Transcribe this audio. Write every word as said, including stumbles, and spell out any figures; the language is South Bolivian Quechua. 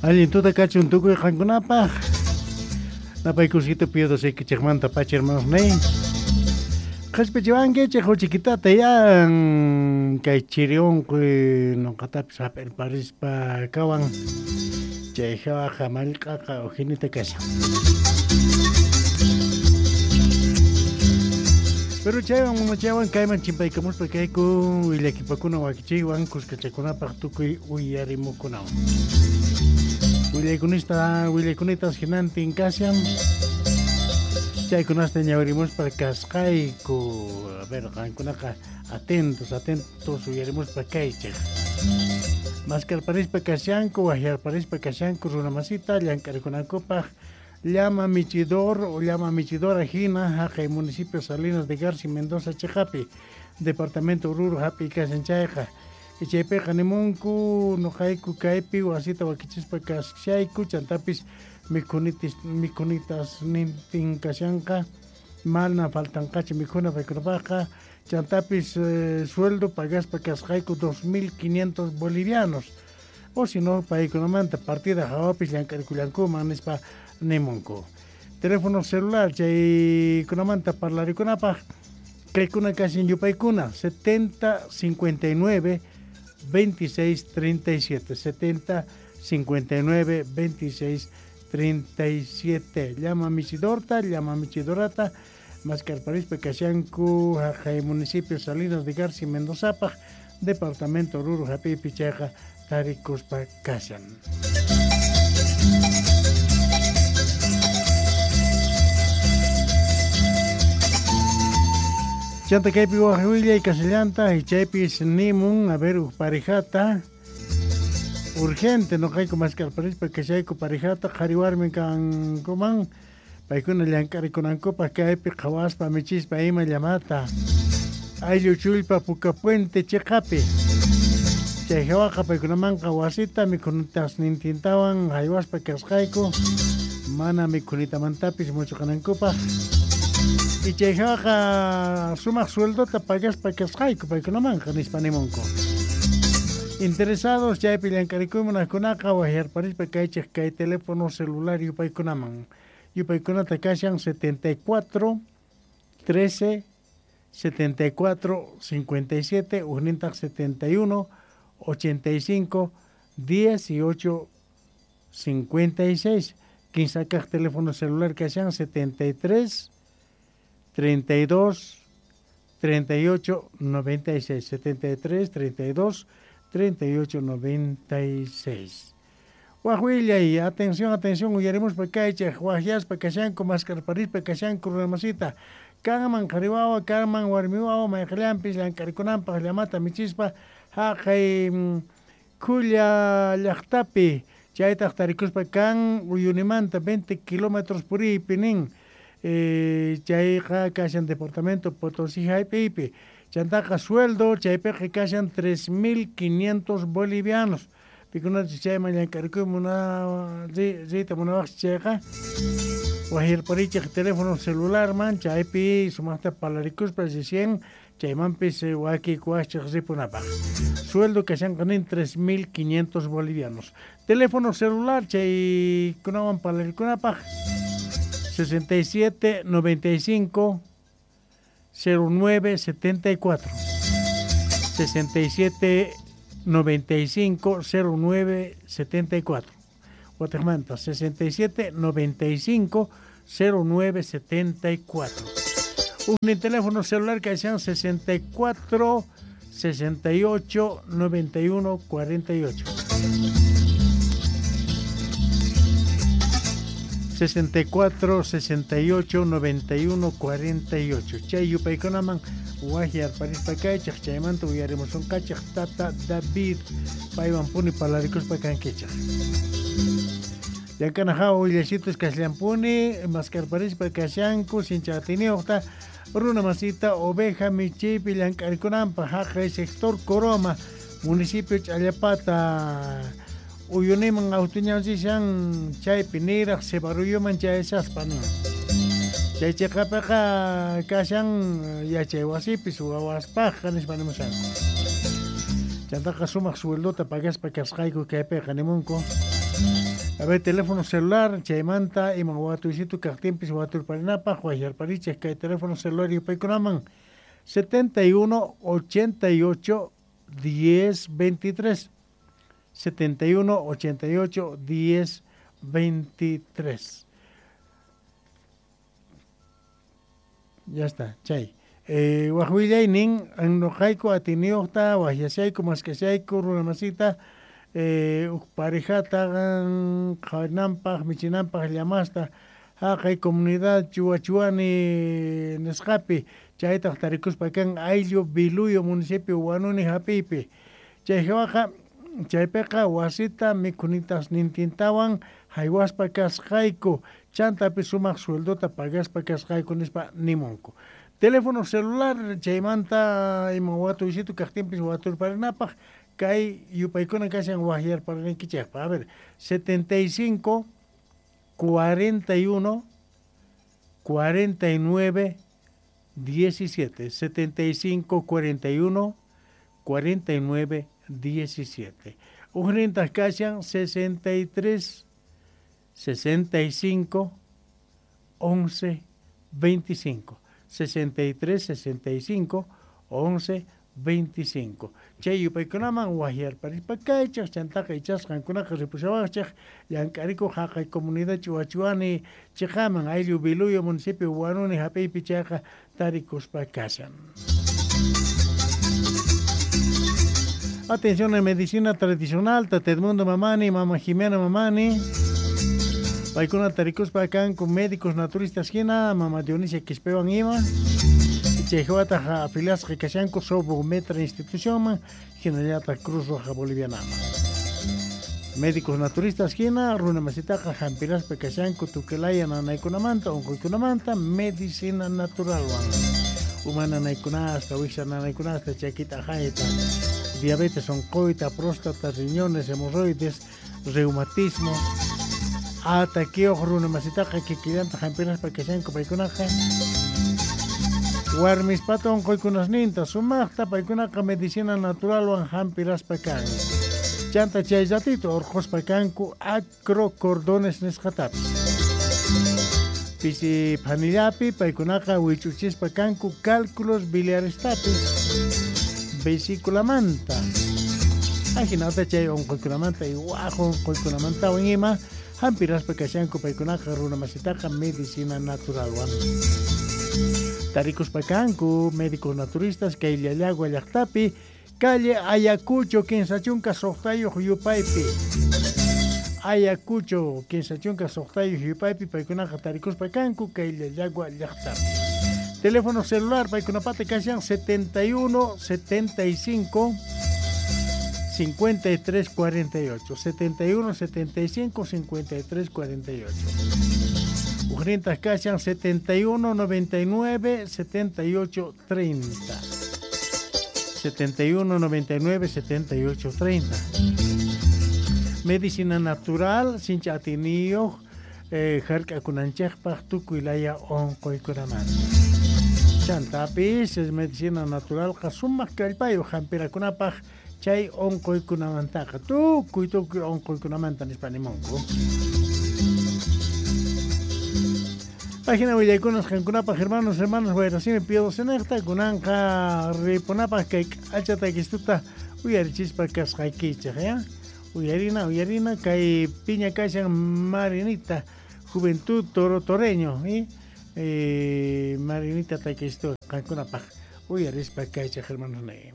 Allin tuta kachun tukuy qankunapaq. Napaykusito pido saykichikmanta pacha hermanos ney. Qhispichiwankichik huchikitata yan kay chiri unquy nuqatapis hap'irparispa kawan chay hawaqa mallq'aqa ujinita kashan. Pero chaywan mamachawan kayman chimpaykamuspa kayku willakipakuna wakichiywan kuskachakunapaq tukuy uyarimukunawan. Willaykunista willaykunetas hinantin kashan. Chaykunasta ñawirimuspa kasqayku. A ver, qankunaqa atentos, atentos uyarimuspa kaychik. Maskarparispa kashanku, wahyarparispa kashanku runamasita llank'arikunankupaq llama michidor o llama michidora hina haqay municipio Salinas de Garci Mendoza chiqapi departamento Oruro hapi kashan chayqa. Chaypiqa nimunku nuqayku kaypi wasita wakichispa kashayku chantapis mikhunitis mikhunitas nintin kashanqa mana faltanqachu mikhuna paykunapaqqa chantapis eh, sueldo pagaspa kasqayku dos mil quinientos bolivianos o si no paykunamanta partida hawapis llank'arikullankuman nispa nimunku. Teléfono celular chaykunamanta parlarikunapaq kaykuna kashan yupaykuna setenta cincuenta y nueve veintiséis treinta y siete setenta cincuenta y nueve veintiséis treinta y siete. Llama michidorta, llama michidorata, maskarparispa kashanku haqay municipio Salinas de Garci Mendozapaq departamento Oruro hapipi chayqa tarikuspa kashan. Chanta kaypi waj willay kasillanta y chaypis nimun a ver uj parejata urgente nuqayku maskarparispa kashayku parejata qhari warmi kankuman paykuna llank'arikunankupaq kaypi qhawaspa michispa ima llamata ayllu chullpa Puka Puente chiqapi chay hawaqa paykunamanqa wasita mikhunitasnintintawan haywaspa kasqayku mana mikhunitamantapis muchuqanankupaq. Y chay hawaqa sumaq sueldota pagaspa kasqayku paykunamanqa nispa nimunku. Interesados chaypi llank'arikuymunaqkunaqa wahyarparispa kaychik kay teléfono celular yupaykunaman. Yupaykunata kashan setenta y cuatro trece setenta y cuatro cincuenta y siete ujnintaq setenta y uno ochenta y cinco dieciocho cincuenta y seis. Kinsa kaq teléfono celular kashan setenta y tres treinta y dos treinta y ocho noventa y seis setenta y tres treinta y dos treinta y ocho noventa y seis. Wajwillay, atención, atención, uyarimuspa kaychik, wajyaspa kashanku, maskarparispa kashanku runamasita. Kanman qhariwawa, kanman warmiwawa, mayqillanpis llank'arikunanpaq llamata michispa haqay Khulla llaqtapi chaytaq tarikuspa kan Uyunimanta veinte kilómetros puriypi nin. Eh, chayqa kashan departamento Potosí haypipi. Chantaqa sueldo chaypiqa kashan tres mil quinientos bolivianos. Pikunachus chayman llank'arikuy muna riyta munawaqchis chayqa wajirparichik teléfono celularman chaypi sumaqta parlarikuspa recién chaymanpis wakikuwaqchik ripunapaq. Sueldo kashanqa nin tres mil quinientos bolivianos. Teléfono celular chaykunawan parlarikunapaq sesenta y siete noventa y cinco cero nueve setenta y cuatro sesenta y siete noventa y cinco cero nueve setenta y cuatro. Guatemala sesenta y siete noventa y cinco cero nueve setenta y cuatro. Un teléfono celular que sean sesenta y cuatro sesenta y ocho noventa y uno cuarenta y ocho. sesenta y cuatro sesenta y ocho noventa y uno cuarenta y ocho. Chay yupaykunaman wahyarparispa kaychik chaymanta uyarimusunqachik tata David paywan puni parlarikuspa kankichik. Llank'ana hawa willasitos kasllampuni maskarparispa kashanku sinchatiniyuqta runa masita oveja michiypi llank'arikunanpaq haqay sector Coroma municipio Ch'allapata Uyuniman autuñanchishan chaypi niraq Cebaruyuman chayashaspa nin. Chay chiqapiqa kashan yachay wasipis wawaspaqqa nispa nimushanku. Chantaqa sumaq sueldota pagaspa kasqayku kaypiqa nimunku. A ver, teléfono celular, chaymanta, iman watuysitu kaqtinpis waturparinapaq, wayarparichej kay teléfono celular yupaykunaman setenta y uno, ochenta y ocho, diez, veintitrés. setenta y uno, ochenta y ocho, diez, veintitrés. Ya está, chay. Eh, wajwillaynin, noqayku atiniyuqta, wajyashayku, maskashayku, runamasita, eh, uj parejata qhawarinanpaq, michinanpaq llamasta, haqay comunidad Chuachuani nisqapi, chaytaq tarikuspa kan ayllu Biluyo municipio Huanuni hap'iypi. Chay hawaqa, chaypiqa wasita mikhunitas nintintawan haywaspa kasqayku, chantapi sumaq sueldota pagaspa kasqayku nispa nimunku. Teléfono celular chaymanta ima watuysitu kaqtinpis waturparinapaq kay yupaykuna kashan wajyarparinaykichikpaq. A ver, setenta y cinco, cuarenta y uno, cuarenta y nueve, diecisiete. setenta y cinco, cuarenta y uno, cuarenta y nueve, diecisiete. Ujnintas kashan sesenta y tres, sesenta y cinco, once, veinticinco. sesenta y tres, sesenta y cinco, once, veinticinco. Chay yupaykunaman wajyarparispa kaychaj, chantaqa ichasqankunaqa ripushawaqchej, llank'arikuq haqay comunidad Chuachuani chiqaman ayllu Biluyo municipio Huanuni hap'iypi chayqa tarikuspa kashan. Atención en medicina tradicional, Tata Edmundo Mamani, Mama Jimena Mamani. Paykuna tarikuspa kanku médicos naturistas hina, Mama Dionisia Quispewan ima. Chayjawataq afiliasqa kashanku Sobometra institucionman, hinallataq Cruz Roja Bolivianaman. Médicos naturistas hina, runamasitaqa hampiraspa kashanku tukilaya nanaykunamanta, unquykunamanta, medicina naturalwan. Uma nanaykunasta, wiksa nanaykunasta, chakita ajayta, diabetes oncoita, próstata, riñones, hemorroides, reumatismo. Ataquioq runamasitaqa kikillanta hampiraspa kashanku paykunaqa. Warmispata unquykunasninta sumaqta paykunaqa medicina naturalwan hampiraspa kan. Chanta chay ratito urquspa kanku acrocordones nisqatapis. Pisi phanillapi paykunaqa wich'uchispa kanku cálculos biliarestapis vesículamanta. Ajinata chay unquykunamanta y waj unquykunamantawan ima hampiraspa kashanku paykunaqa runamasitaqa medicina naturalwan. Tarikuspa kanku médicos naturistas kay Llallagua llaqtapi, calle Ayacucho kinsa chunka suqtayuq yupaypi. Ayacucho kinsa chunka suqtayuq yupaypi paykunaqa tarikuspa kanku kay Llallagua llaqtapi. Teléfono celular paykunapata kashan setenta y uno, setenta y cinco, cincuenta y tres, cuarenta y ocho. setenta y uno, setenta y cinco, cincuenta y tres, cuarenta y ocho. Ujnintas kashan setenta y uno, noventa y nueve, setenta y ocho, treinta. setenta y uno, noventa y nueve, setenta y ocho, treinta. Medicina natural, sincha atiniyuq, eh, hark'akunanchikpaq tukuylaya unquykunamanta. Chantapis es medicina naturalqa sumaq kallpayuq hampirakunapaq chay unquykunamantaqa tukuy tukuy unquykunamanta nispa nimunku. Página willaykunas qankunapaq hermanos, hermanas, wayrasimi pido senejta kunanqa ripunapaq kay k'achata uyarichispa kasqaykichej, ya? Uyarina, uyarina, kay piña kashan Marinita, Juventud Toro Toreño, ¿eh? Eh, Marinita takistu qankunapaq uyarispa kaychej hermanos ne.